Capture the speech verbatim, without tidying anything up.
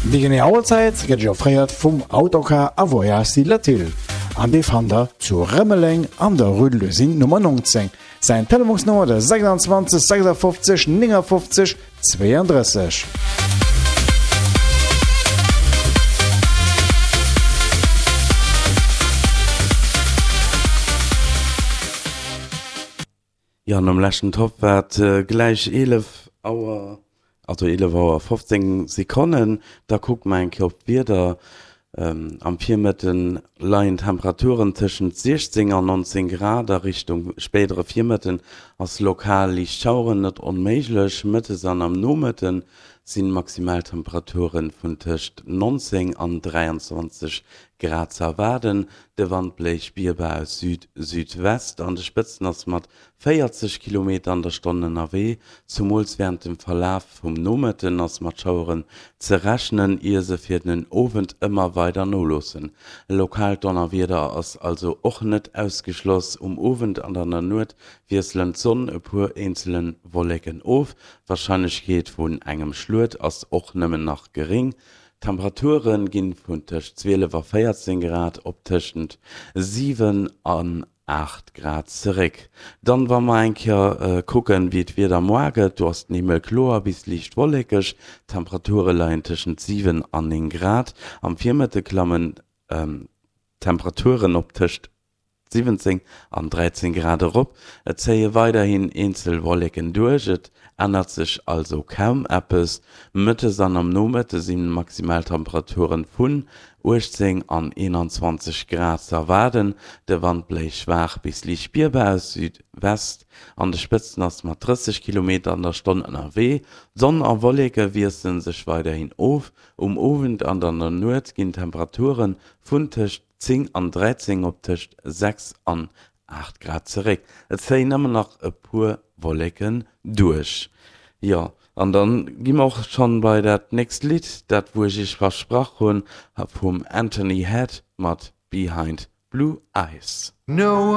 Déi genee Auerzäit gëtt Iech offréiert vum Autocar a Voyages Latil an dee fannt der zu Rëmeleng an der Rue de l'Usine Nummer neunzéng. Säin Telefonsnummer de sechsundzwanzeg sechsundfünfzig neunundfünfzig zweiunddrësseg. Jo, nom leschten Topp war et gläich eelef Auer, also eelef Auer fofzéng Sekonnen. Da kucke mer eng Kéier op d'Wieder. Am Virmëtte leien d'Temperaturen tëschent siechzéng an nonzéng Grad, a Richtung spéidere Virmëtten ass lokal liicht Schaueren net onméiglech. Mëttes an am Nomëtte sinn Maximaltemperature vun tëscht nonzéng an dräianzwanzeg Grad ze erwaarden. De Wand bléist spierbar aus Süd-Südwest, an de Spëtzen ass mat véierzeg Kilometer an der Stonn ënnerwee. Zumools wärend dem Verlaf vum Nomëtten ass mat Schaueren ze rechnen, ier se fir den Owend ëmmer weider noloossen. E lokaalt Donnerwieder ass also och net ausgeschloss. Um Owend an an der Nuet wiesselen d'Sonn e puer eenzele Wolleken of, d'Warscheinlechkeet vun engem Schluet ass och nëmmen nach geréng. D'Temperature ginn vun tëscht zwielef a véierzéng Grad op tëschent siwen an aacht Grad zeréck. Dann wa mer eng Kéier kucken, wéi d'Wieder moar gëtt, do ass den Himmel kloer bis liicht wollekeg, d'Temperature leien tëschent siwen an néng Grad. Am Virmëtte klammen d'Temperaturen op tëscht siwwenzéng an dräizéng Grad erop. Et zéie weiderhin eenzel Wolleken duerch, et ännert sech also kaum eppes. Mëttes an am Nomëtte si Maximaltemperaturen vun uechtzéng an eenanzwanzeg Grad ze erwaarden. De Wand bléist schwaach bis liicht spierbar aus Südwest, an de Spëtzen ass mat drësseg Kilometer an der Stonn ënnerwee. Sonn a Wolleke wiessele sech weiderhin of. Um Owend an an der Nuet ginn d'Temperature vun tëscht zéng an dräizéng op tëscht sechs an aacht Grad zeréck. Et zéien ëmmer nach e puer Wolleken duerch. Jo, an dann gi mer och schonn bei dat nächst Lidd, dat wou ech iech versprach hunn, vum Anthony Head mat Behind Blue Eyes. No.